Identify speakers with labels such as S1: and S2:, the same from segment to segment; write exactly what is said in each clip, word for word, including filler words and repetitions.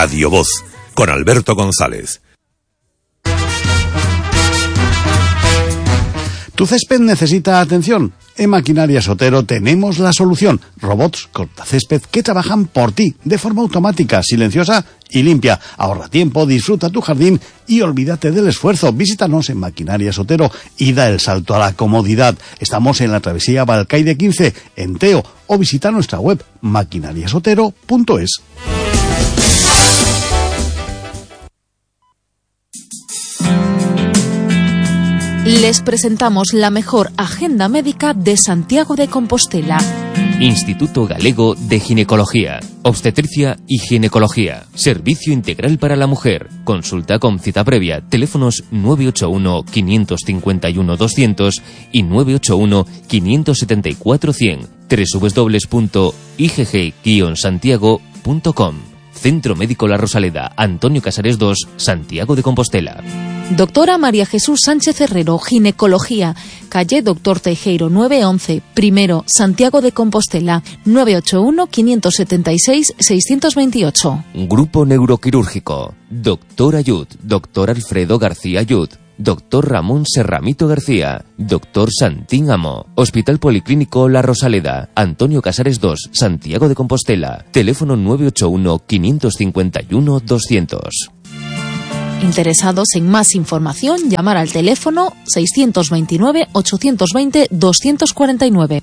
S1: Radio Voz, con Alberto González.
S2: ¿Tu césped necesita atención? En Maquinarias Otero tenemos la solución. Robots cortacésped que trabajan por ti, de forma automática, silenciosa y limpia. Ahorra tiempo, disfruta tu jardín y olvídate del esfuerzo. Visítanos en Maquinarias Otero y da el salto a la comodidad. Estamos en la travesía Balcaide quince, en Teo, o visita nuestra web maquinarias otero punto es.
S3: Les presentamos la mejor agenda médica de Santiago de Compostela.
S4: Instituto Galego de Ginecología, Obstetricia y Ginecología. Servicio integral para la mujer. Consulta con cita previa. Teléfonos nueve ocho uno, cinco cinco uno, doscientos y nueve ocho uno, cinco siete cuatro, cien. doble u doble u doble u punto i g g guion santiago punto com. Centro Médico La Rosaleda, Antonio Casares dos, Santiago de Compostela.
S3: Doctora María Jesús Sánchez Herrero, Ginecología, calle Doctor Teijeiro nueve once, primero, Santiago de Compostela, nueve ocho uno, cinco siete seis, seis dos ocho.
S4: Grupo Neuroquirúrgico, Doctor Ayud, Doctor Alfredo García Ayud, Doctor Ramón Serramito García, Doctor Santín Amo, Hospital Policlínico La Rosaleda, Antonio Casares dos, Santiago de Compostela, teléfono nueve ocho uno, cinco cinco uno, doscientos.
S3: Interesados en más información, llamar al teléfono seiscientos veintinueve, ochocientos veinte, doscientos cuarenta y nueve.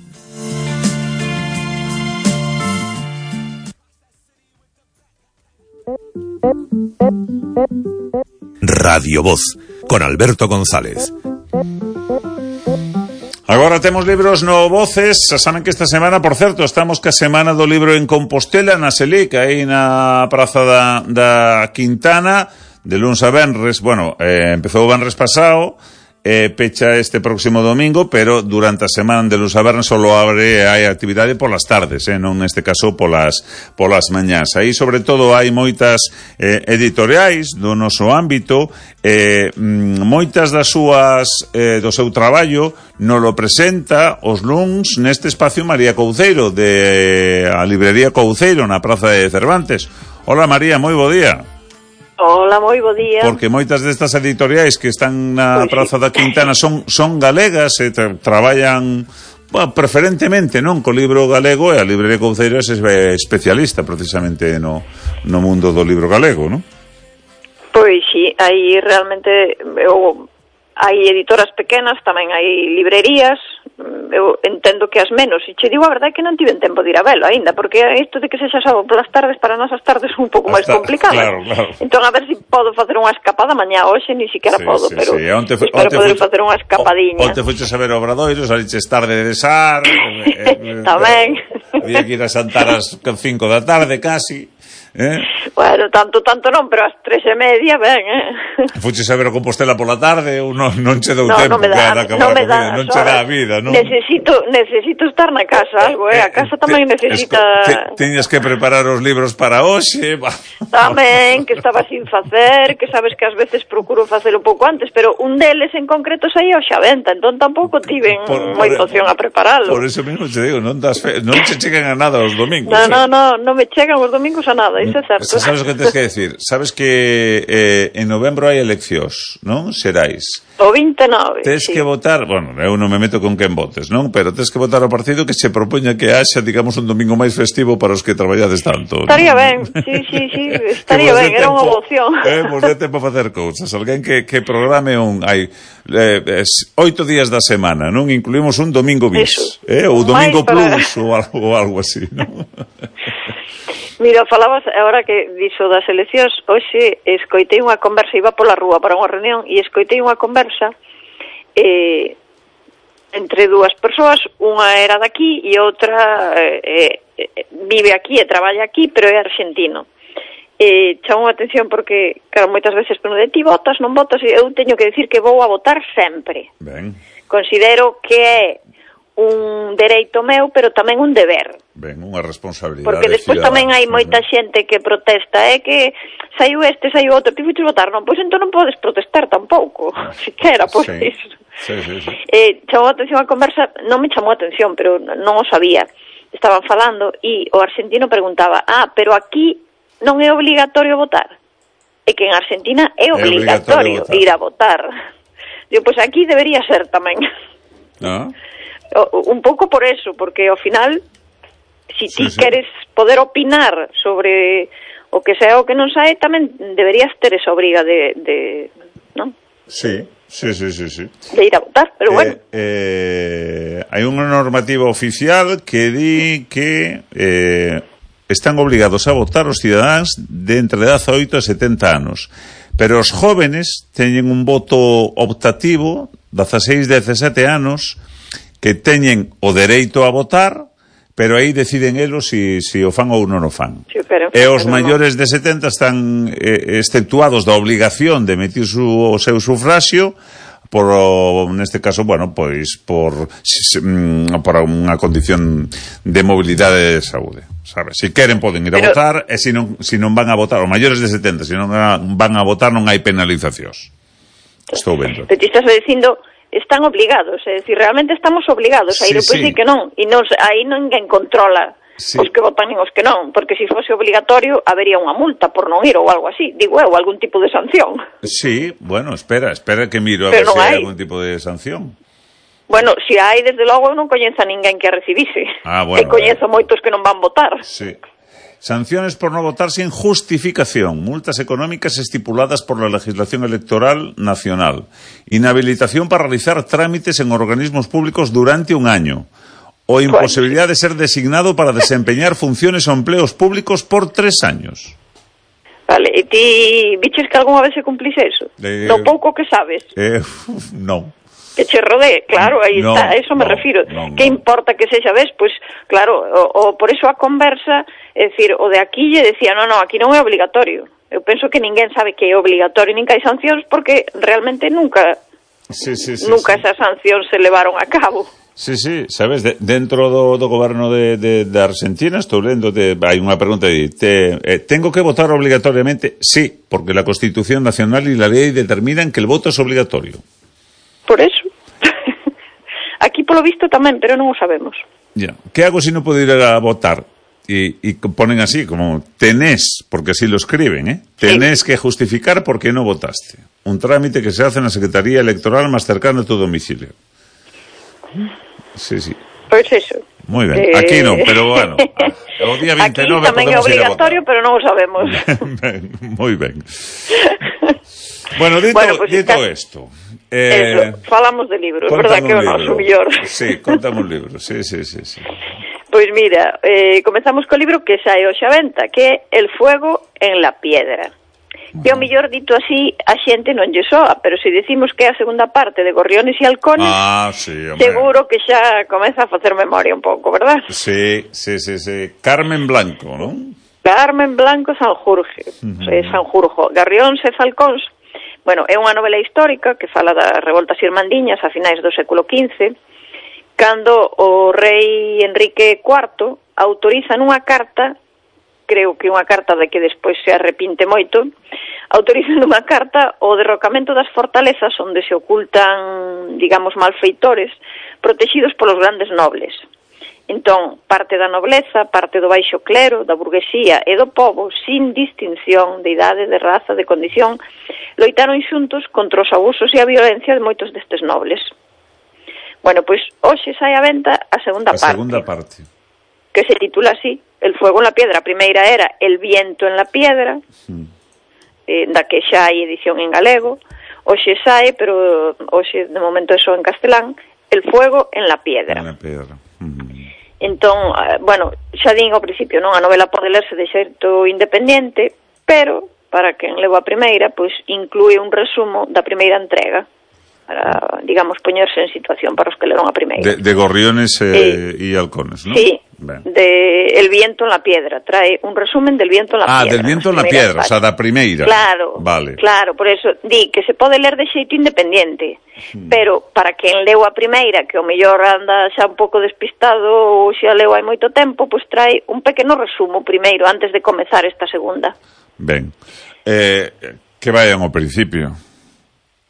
S1: Radio Voz, con Alberto González.
S5: Agora temos libros no Voces. Saben que esta semana, por certo, estamos ca semana do libro en Compostela, na Selic, aí na praza da, da Quintana, de luns a venres. Bueno, eh, empezou o venres pasado, eh, pecha este próximo domingo, pero durante a semana de luns a venres solo abre, hai actividade polas tardes, eh, non neste caso polas, polas mañás. Aí, sobre todo, hai moitas eh, editoriais do noso ámbito, eh, moitas das súas, eh, do seu traballo, nos lo presenta os luns neste espacio María Couceiro, de a librería Couceiro, na praza de Cervantes. Hola, María, moi bo día.
S6: Hola, moi bo día.
S5: Porque moitas destas editoriais que están na pues praza sí. da Quintana son, son galegas e tra traballan, bueno, preferentemente, non, co libro galego, e a librería Couceiro é especialista precisamente no, no mundo do libro galego, non?
S6: Pois sí, aí realmente eu, hai editoras pequenas, tamén hai librerías. Eu entendo que as menos, e che digo a verdade que non tiven tempo de ir a velo aínda, porque isto de que sexa sábado polas tardes para nós as tardes son un pouco máis complicadas.
S5: Claro, claro.
S6: Entón a ver se si podo facer unha escapada mañá, hoxe ni siquiera
S5: sí,
S6: podo,
S5: sí,
S6: pero
S5: sí. Onte fue,
S6: espero
S5: onte
S6: poder
S5: fue,
S6: facer unha escapadiña.
S5: Onte fuches a ver o Obradoiro, saliches tarde de Sar, eh,
S6: tamén.
S5: Había que ir a Santar ás cinco da tarde casi. Eh?
S6: Bueno, tanto, tanto non, pero ás tres e media, ben, eh?
S5: Fuches a ver o Compostela pola tarde ou non, non che deu
S6: no,
S5: tempo,
S6: no me dá,
S5: cara,
S6: non me dá,
S5: non che dá a vida, non?
S6: Necesito, necesito estar na casa, algo, eh? A casa tamén
S5: te,
S6: necesita...
S5: Te, teñas que preparar os libros para hoxe.
S6: Tamén, que estaba sin facer, que sabes que ás veces procuro facer un pouco antes, pero un deles en concreto saía hoxe a venta, entón tampouco tiven moita opción a preparalo.
S5: Por eso mesmo te digo, non, das fe, non che chegan a nada os domingos.
S6: No, no, no, non me chegan os domingos a nada, iso é certo.
S5: Sabes o que tens que decir? Sabes que eh, en novembro hai eleccións, non? Xerais.
S6: O vinte e nove.
S5: Tens
S6: sí.
S5: que votar, bueno, eu non me meto con quen votes, non? Pero tens que votar ao partido que se propoña que haxa, digamos, un domingo máis festivo para os que traballades tanto.
S6: Estaría ¿no? ben, sí, sí, sí, estaría ben, era unha opción.
S5: Eh, pues de tempo a facer cousas. Alguén que, que programe un... Hai eh, oito días da semana, non? Incluímos un domingo bis, eh? Ou domingo para... plus, ou algo, ou algo así, non?
S6: Mira, falabas agora que dixo das eleccións, hoxe escoitei unha conversa, iba pola rúa para unha reunión e escoitei unha conversa eh, entre dúas persoas, unha era daqui e outra eh, eh, vive aquí e traballa aquí, pero é argentino. Eh, chamou a atención porque, claro, moitas veces pero de ti votas, non votas, e eu teño que decir que vou a votar sempre.
S5: Ben.
S6: Considero que é un dereito meu, pero tamén un deber.
S5: Ben, unha responsabilidade.
S6: Porque despois tamén hai moita xente que protesta, é que saiu este, saiu outro, ti fuches votar, non? Pois entón non podes protestar tampouco, siquera por
S5: sí.
S6: iso.
S5: Sí, sí, sí.
S6: Eh, chamou a atención a conversa, non me chamou a atención, pero non o sabía. Estaban falando e o argentino preguntaba, ah, pero aquí non é obligatorio votar. E que en Argentina é obligatorio, é obligatorio ir a votar. Digo, pois aquí debería ser tamén.
S5: Ah.
S6: Un pouco por eso, porque ao final, si ti sí, sí. queres poder opinar sobre o que sea o que non sae, tamén deberías ter esa obriga de, de non?
S5: Sí, sí, sí, sí, sí.
S6: De ir a votar, pero
S5: eh,
S6: bueno.
S5: Eh, hai unha normativa oficial que di que eh, están obligados a votar os cidadáns de entre dezaoito e setenta anos. Pero os jóvenes teñen un voto optativo, dezaseis, dezasete anos, que teñen o dereito a votar, pero aí deciden elos si, si o fan ou non o fan.
S6: Sí, pero,
S5: e os
S6: pero
S5: maiores
S6: no.
S5: de setenta están eh, exceptuados da obligación de emitir su, o seu sufraxio, por, neste caso, bueno, pois, por, por unha condición de mobilidade de saúde, sabes? Si queren poden ir a Pero... votar, e se non, si non van a votar, os maiores de setenta, se non van a votar non hai penalizacións. Estou vendo.
S6: Te estás dicindo, están obligados, é dicir, realmente estamos obligados a ir, sí, pois sí. que non, e non, aí ninguén controla sí. os que votan e os que non, porque se fose obligatorio habería unha multa por non ir ou algo así, digo eu, algún tipo de sanción.
S5: Sí, bueno, espera, espera que miro a
S6: Pero
S5: ver se hai
S6: hai
S5: algún tipo de sanción.
S6: Bueno, se hai, desde logo, eu non coñezo a ninguén que a recibise.
S5: Ah, bueno.
S6: E coñezo eh. moitos que non van votar.
S5: Sí. Sanciones por no votar sin justificación, multas económicas estipuladas por la legislación electoral nacional, inhabilitación para realizar trámites en organismos públicos durante un año, o imposibilidad de ser designado para desempeñar funciones o empleos públicos por tres años.
S6: Vale, e ti biches que algunha vez se cumplise eso? Eh, no pouco que sabes?
S5: Eh, non.
S6: Que che rodee, claro, aí
S5: no,
S6: está, a eso me
S5: no,
S6: refiro.
S5: No,
S6: que
S5: no.
S6: importa que sexa, ves? Pois, claro, o, o por eso a conversa, é dicir, o de aquí lle decía, no, no, aquí non é obligatorio. Eu penso que ninguén sabe que é obligatorio, nin que hai sancións, porque realmente nunca
S5: sí, sí, sí,
S6: nunca
S5: sí.
S6: esas sancións se levaron a cabo.
S5: Sí, sí, sabes, de, dentro do, do goberno de, de, de Argentina, estou lendo, de, hai unha pregunta de, te, eh, ¿tengo que votar obligatoriamente? Sí, porque la Constitución Nacional y la ley determinan que el voto es obligatorio.
S6: Por eso. Aquí polo visto tamén, pero non o sabemos.
S5: Ya. ¿Qué hago si no puedo ir a votar? Y, y ponen así, como tenés, porque así lo escriben, ¿eh? Tenés sí. que justificar por qué no votaste. Un trámite que se hace en la Secretaría Electoral más cercana a tu domicilio. Sí, sí.
S6: Pois eso.
S5: Moi ben, eh... aquí non, pero bueno, o día vinte e nove
S6: aquí tamén é obligatorio, pero non o sabemos.
S5: Ben, moi ben. Bueno, dito, bueno, pues dito isto,
S6: eh, falamos de libros, verdad que é o noso mellor.
S5: Sí, contame un libro, sí, sí, sí, sí.
S6: Pois mira, eh, comezamos co libro que sae hoxe a venta, que é El fuego en la piedra. Que o mellor dito así a xente non lle soa, pero se decimos que é a segunda parte de Gorriones e Halcones,
S5: ah, sí,
S6: seguro que xa comeza a facer memoria un pouco, verdad?
S5: Sí, sí, sí, sí. Carmen Blanco, non?
S6: Carmen Blanco Sanjurge, uh-huh. o sea, Sanjurjo. Gorriones e Halcóns, bueno, é unha novela histórica que fala das revoltas irmandiñas a finais do século quince, cando o rei Enrique cuarto autoriza nunha carta, creo que unha carta de que despois se arrepinte moito, autoriza nunha carta o derrocamento das fortalezas onde se ocultan, digamos, malfeitores protegidos polos grandes nobles. Entón, parte da nobleza, parte do baixo clero, da burguesía e do povo, sin distinción de idade, de raza, de condición, loitaron xuntos contra os abusos e a violencia de moitos destes nobles. Bueno, pois hoxe sai a venta a segunda
S5: a
S6: parte.
S5: A segunda parte.
S6: Que se titula así, El fuego en la piedra. A primeira era El viento en la piedra, mm. eh, da que xa hai edición en galego. Hoxe sae, pero hoxe de momento é só en castelán, El fuego en la piedra.
S5: En la piedra. Mm.
S6: Entón, bueno, xa din ao principio, non, a novela pode lerse de xeito independente, pero para quen leva a primeira, pois inclúe un resumo da primeira entrega, para, digamos, poñerse en situación para os que leron a primeira.
S5: De, de Gorriones e eh, Halcones, non?
S6: Sí, ben. De El viento en la piedra, trae un resumen del viento en la
S5: ah,
S6: piedra.
S5: Ah, del viento en la piedra, o sea, da primeira.
S6: Claro,
S5: vale.
S6: Claro, por eso di que se pode ler de xeito independiente, hmm. pero para quen leu a primeira, que o mellor anda xa un pouco despistado ou xa leu hai moito tempo, pois trae un pequeno resumo primeiro, antes de comezar esta segunda.
S5: Ben, eh, que vayan ao principio,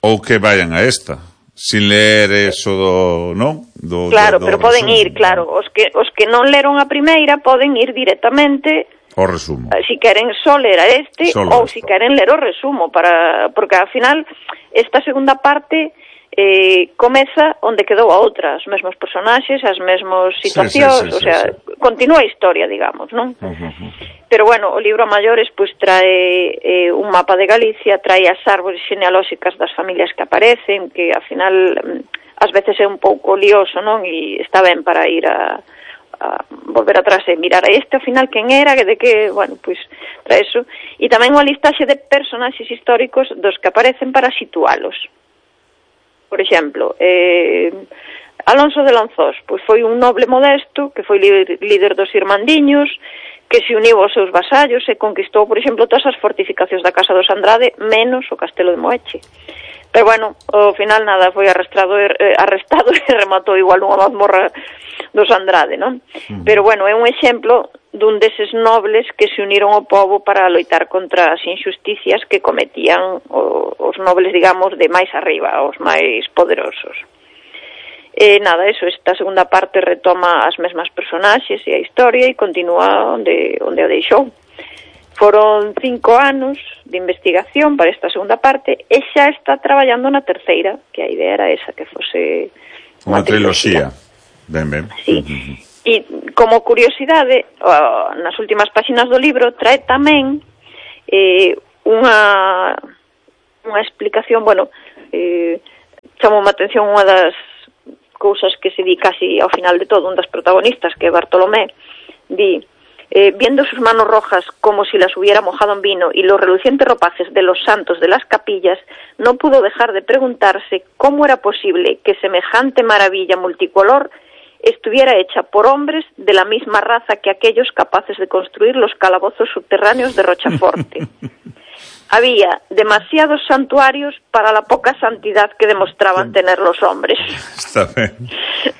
S5: ou que vayan a esta, sin ler eso do, non? Do,
S6: claro,
S5: do, do
S6: pero
S5: resumo.
S6: Poden ir, claro, os que, os que non leron a primeira poden ir directamente
S5: O resumo.
S6: Si queren só ler a este,
S5: Solo
S6: ou
S5: esto.
S6: si queren ler o resumo, para porque ao final esta segunda parte eh, comeza onde quedou a outra, os mesmos personaxes, as mesmas situacións,
S5: sí, sí, sí,
S6: o sea,
S5: sí.
S6: continúa a historia, digamos, non?
S5: Uh -huh.
S6: Pero bueno, o libro a maiores pois trae eh, un mapa de Galicia, trae as árbores genealóxicas das familias que aparecen, que ao final ás veces é un pouco lioso, non? E está ben para ir a a volver atrás e mirar a este ao final quen era, que de que, bueno, pois para eso, e tamén unha listaxe de personaxes históricos dos que aparecen para situalos. Por exemplo, eh, Alonso de Lanzós, pois foi un noble modesto que foi líder, líder dos irmandiños, que se uniu aos seus vasallos e conquistou, por exemplo, todas as fortificacións da Casa dos Andrade, menos o Castelo de Moeche. Pero bueno, ao final nada, foi arrestado, eh, arrestado e rematou igual unha mazmorra dos Andrade, non? Uh -huh. Pero bueno, é un exemplo dun deses nobles que se uniron ao povo para loitar contra as injusticias que cometían o, os nobles, digamos, de máis arriba, os máis poderosos. E nada, eso, esta segunda parte retoma as mesmas personaxes e a historia e continúa onde, onde o deixou. Foron cinco anos de investigación para esta segunda parte e xa está traballando na terceira, que a idea era esa, que fose
S5: unha triloxía. Ben, ben.
S6: Sí. Uh -huh. E como curiosidade, nas últimas páxinas do libro trae tamén eh, unha unha explicación, bueno, eh, chamou a atención unha das cousas que se di casi ao final de todo, un das protagonistas, que é Bartolomé, di: Eh, viendo sus manos rojas como si las hubiera mojado en vino y los relucientes ropajes de los santos de las capillas, no pudo dejar de preguntarse cómo era posible que semejante maravilla multicolor estuviera hecha por hombres de la misma raza que aquellos capaces de construir los calabozos subterráneos de Rochaforte. Había demasiados santuarios para la poca santidad que demostraban tener los hombres.
S5: Está ben.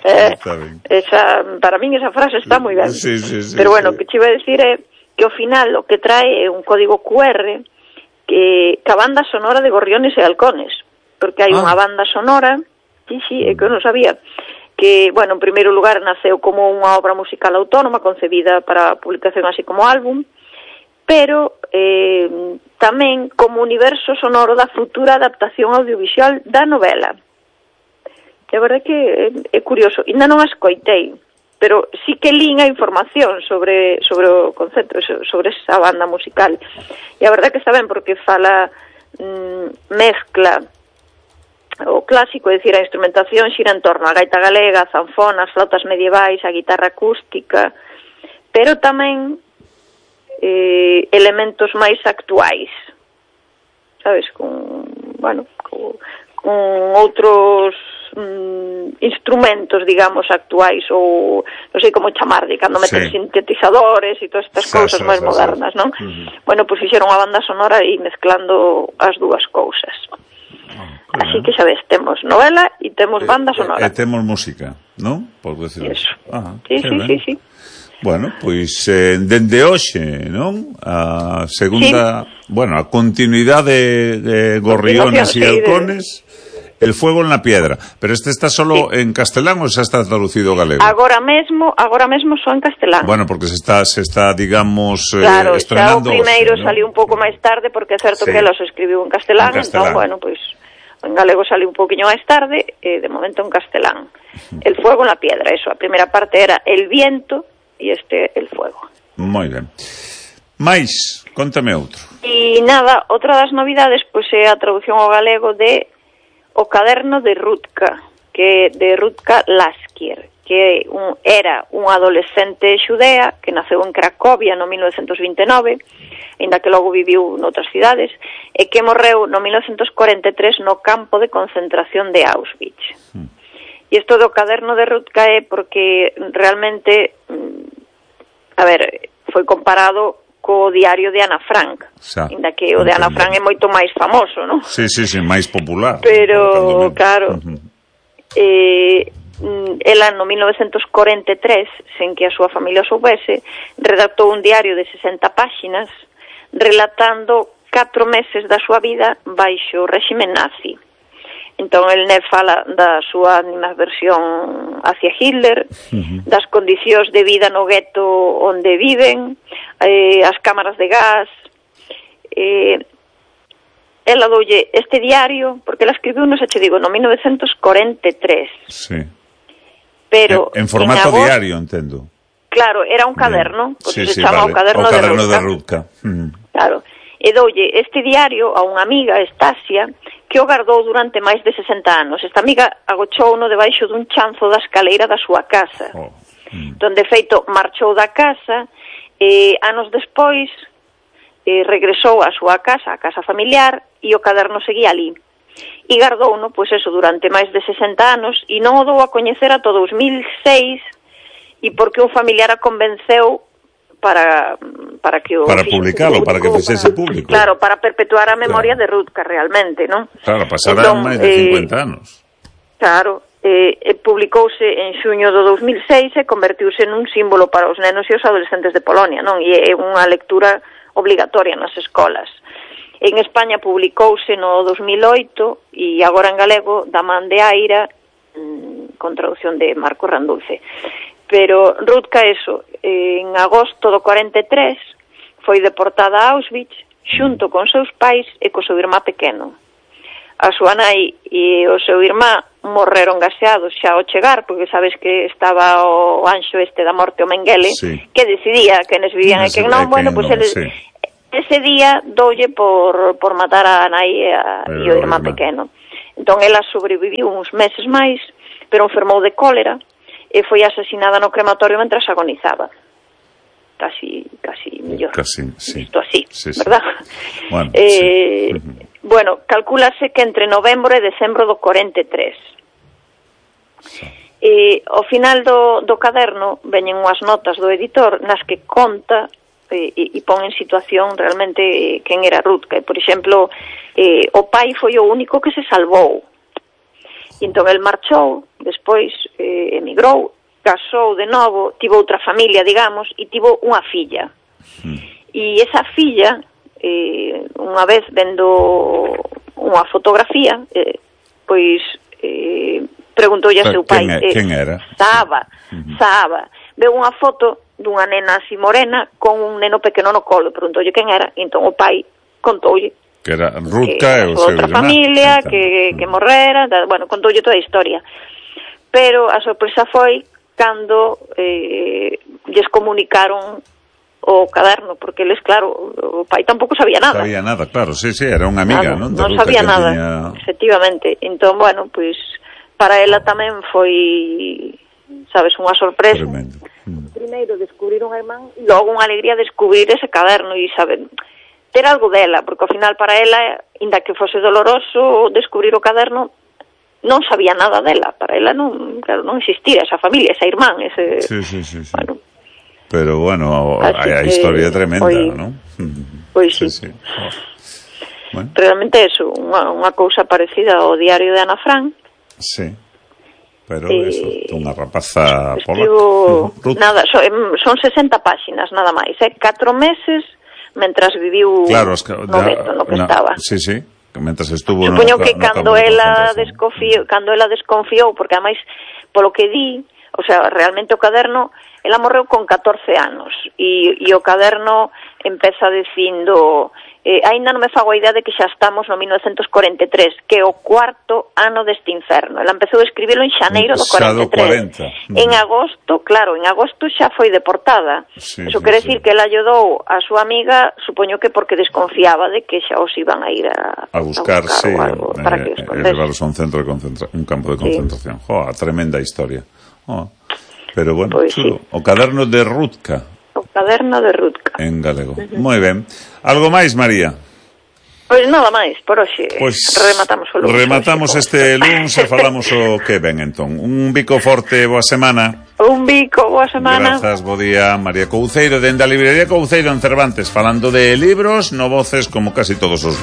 S6: Eh,
S5: está ben.
S6: Esa, para min esa frase está moi ben.
S5: Sí, sí, sí,
S6: Pero bueno,
S5: sí.
S6: o que te iba a decir é que ao final o que trae é un código cu erre que, que a banda sonora de Gorriones e Halcones, porque hai
S5: Ah.
S6: unha banda sonora, sí, sí, é que eu non sabía, que, bueno, en primeiro lugar naceu como unha obra musical autónoma concebida para publicación así como álbum, pero eh, tamén como universo sonoro da futura adaptación audiovisual da novela. É verdade que é, é curioso, ainda non a escoitei, pero sí que lín a información sobre, sobre o concepto, sobre esa banda musical. E a verdade que está ben, porque fala, mm, mezcla o clásico, é dicir, a instrumentación xira en torno a gaita galega, a zanfona, as flautas medievais, a guitarra acústica, pero tamén eh, elementos máis actuais, sabes, con, bueno, con, con outros mm, instrumentos, digamos, actuais, ou non sei como chamarlle, cando meten
S5: sí.
S6: sintetizadores e todas estas
S5: Sa,
S6: cousas
S5: sa,
S6: máis
S5: sa,
S6: modernas,
S5: sa.
S6: non?
S5: Uh -huh.
S6: Bueno, pois fixeron unha banda sonora e mezclando as dúas cousas.
S5: Oh,
S6: así que xa ves, temos novela e temos banda sonora.
S5: E, e temos música, non? Por decirlo.
S6: Eso.
S5: Ah,
S6: sí, sí, sí, sí.
S5: Bueno, pois eh, dende hoxe, non? A segunda, sí. bueno, a continuidade de, de Gorriones e Halcones, de... El fuego en la piedra. Pero este está solo sí. en castelán ou xa está traducido galego?
S6: Agora mesmo, agora mesmo só en castelán.
S5: Bueno, porque se está, se está digamos,
S6: claro,
S5: eh, estrenando
S6: o primeiro
S5: hoxe, ¿no?
S6: saliu un pouco máis tarde, porque é certo sí. que ela se escribiu en castelán, en castelán. Entón, bueno, pois, en galego saliu un pouquiño máis tarde, e de momento en castelán. El fuego en la piedra, eso. A primeira parte era el viento, e este el fuego.
S5: Moi ben. Mais, contame outro.
S6: E nada, outra das novidades pois é a traducción ao galego de O caderno de Rutka, que de Rutka Laskier, que un, era unha adolescente xudea que naceu en Cracovia no mil novecentos vinte e nove, ainda que logo viviu noutras cidades, e que morreu no mil novecentos cuarenta e tres no campo de concentración de Auschwitz. Mm. E isto do caderno de Rutka é porque realmente, a ver, foi comparado co diario de Ana Frank, ainda que o de Ana Frank é moito máis famoso, non?
S5: Sí, sí, sí, máis popular.
S6: Pero, claro, uh -huh. eh, ela no mil novecentos cuarenta e tres, sen que a súa familia soubese, redactou un diario de sesenta páxinas relatando catro meses da súa vida baixo o réxime nazi. Entón, el ne fala da súa animadversión hacia Hitler, uh-huh. das condicións de vida no gueto onde viven, eh, as cámaras de gas. Eh, ela doulle este diario, porque ela escribiu, non se che digo, no mil novecientos cuarenta e tres.
S5: Sí.
S6: Pero
S5: en, en formato
S6: en agosto,
S5: diario, entendo.
S6: Claro, era un caderno, por
S5: sí,
S6: se
S5: sí,
S6: chama
S5: vale.
S6: o caderno,
S5: o caderno
S6: de Rudka.
S5: De Rudka. Uh-huh.
S6: Claro. E doulle este diario a unha amiga, Estasia, que o guardou durante máis de sesenta anos. Esta amiga agochouno debaixo dun chanzo da escaleira da súa casa.
S5: Oh. Mm.
S6: Donde, feito, marchou da casa e anos despois eh, regresou á súa casa, a casa familiar, e o caderno seguía ali. E guardouno, pois eso, durante máis de sesenta anos, e non o dou a coñecer ata dous mil seis, e porque un familiar a convenceu para para que o
S5: para publicalo, para que fixese público.
S6: Claro, para perpetuar a memoria
S5: claro.
S6: de Rudka realmente, non?
S5: Claro, pasarán máis de cincuenta eh, anos.
S6: Claro, eh, eh, publicouse en xuño do dous mil seis e convertiuse nun símbolo para os nenos e os adolescentes de Polonia, non? E é unha lectura obligatoria nas escolas. En España publicouse no dos mil oito e agora en galego da man de Aira, mmm, con traducción de Marco Randulce. Pero Rudka, eso, en agosto do cuarenta e tres, foi deportada a Auschwitz xunto con seus pais e co seu irmá pequeno. A súa nai e o seu irmá morreron gaseados xa ao chegar, porque sabes que estaba o anxo este da morte, o Mengele,
S5: sí.
S6: que decidía quenes vivían e quen non. Bueno, pois pues eles... Sí. Ese día doulle por, por matar a nai e, a, e o irmá pequeno. Entón, ela sobreviviu uns meses máis, pero enfermou de cólera, e foi asesinada no crematorio mentras agonizaba. Casi, casi millor.
S5: Casi, sí.
S6: Isto así,
S5: sí, sí.
S6: verdad?
S5: Bueno,
S6: eh,
S5: sí. uh-huh.
S6: bueno, calcúlase que entre novembro e decembro do cuarenta e tres. Sí. E ao final do, do caderno veñen unhas notas do editor nas que conta e, e, e pon en situación realmente eh, quen era Rudka. Por exemplo, eh, o pai foi o único que se salvou. E entón el marchou, despois eh, emigrou, casou de novo, tivo outra familia, digamos, e tivo unha filla. Mm. E esa filla, eh, unha vez vendo unha fotografía, eh, pois eh, preguntoulle a seu pai.
S5: Quen, eh, quen era?
S6: Saba, mm-hmm. Saba. Veu unha foto dunha nena así morena con un neno pequeno no colo, preguntoulle quen era, e entón o pai contoulle
S5: que era Rudka e o seu
S6: outra familia, que, que morrera, da, bueno, contoulle toda a historia. Pero a sorpresa foi cando eh, lles comunicaron o caderno, porque eles, claro, o pai tampouco sabía nada.
S5: Sabía nada, claro, sí, sí, era unha amiga,
S6: claro,
S5: non?
S6: Non sabía nada, tiña... efectivamente. Entón, bueno, pois, pues, para ela tamén foi, sabes, unha sorpresa.
S5: Tremendo. Mm.
S6: Primeiro, descubrir unha irmán, e logo unha alegría descubrir ese caderno e saber... ter algo dela, porque ao final para ela, inda que fose doloroso descubrir o caderno, non sabía nada dela, para ela non, claro, non existía esa familia, esa irmán, ese...
S5: Sí, sí, sí, sí.
S6: Bueno.
S5: Pero bueno, a, a historia é tremenda, foi, non?
S6: Pois sí. sí, sí. Oh. Bueno. Realmente eso, unha, unha cousa parecida ao diario de Ana Frank.
S5: Sí. Pero eh, eso, unha rapaza
S6: polaca. Nada, son, son sesenta páxinas, nada máis, eh? Catro meses mentras viviu
S5: claro, que,
S6: no veto no que
S5: na,
S6: estaba.
S5: Sí, sí, mentras estuvo
S6: Supoño
S5: no,
S6: que
S5: no
S6: cando ela desconfiou, cando ela desconfiou, porque ademais polo que di, o sea, realmente o caderno, ela morreu con catorce anos e, e o caderno empeza dicindo eh, aínda non me fago a idea de que xa estamos no mil novecientos cuarenta e tres, que é o cuarto ano deste inferno. Ela empezou a escribilo en xaneiro do cuarenta e tres.
S5: cuarenta.
S6: En agosto, claro, en agosto xa foi deportada.
S5: Sí,
S6: Eso
S5: sí,
S6: quere
S5: sí.
S6: decir que ela ayudou a súa amiga, supoño que porque desconfiaba de que xa os iban a ir a,
S5: a buscar,
S6: a buscar
S5: sí,
S6: algo
S5: eh,
S6: para que os
S5: eh, levarlos a un centro de concentra un campo de concentración. Sí. Joa, tremenda historia. Oh. Pero bueno,
S6: pues
S5: chulo.
S6: Sí.
S5: O caderno de Rudka.
S6: O caderno de Rudka.
S5: En galego. Uh-huh. Moi ben. Algo máis, María?
S6: Pois nada máis, por hoxe
S5: pues
S6: rematamos o lunes.
S5: Rematamos este lunes e falamos o que ven entón. Un bico forte, boa semana.
S6: Un bico, boa semana.
S5: Grazas, bo día, María Couceiro, dende a librería Couceiro en Cervantes, falando de libros no Voces como casi todos os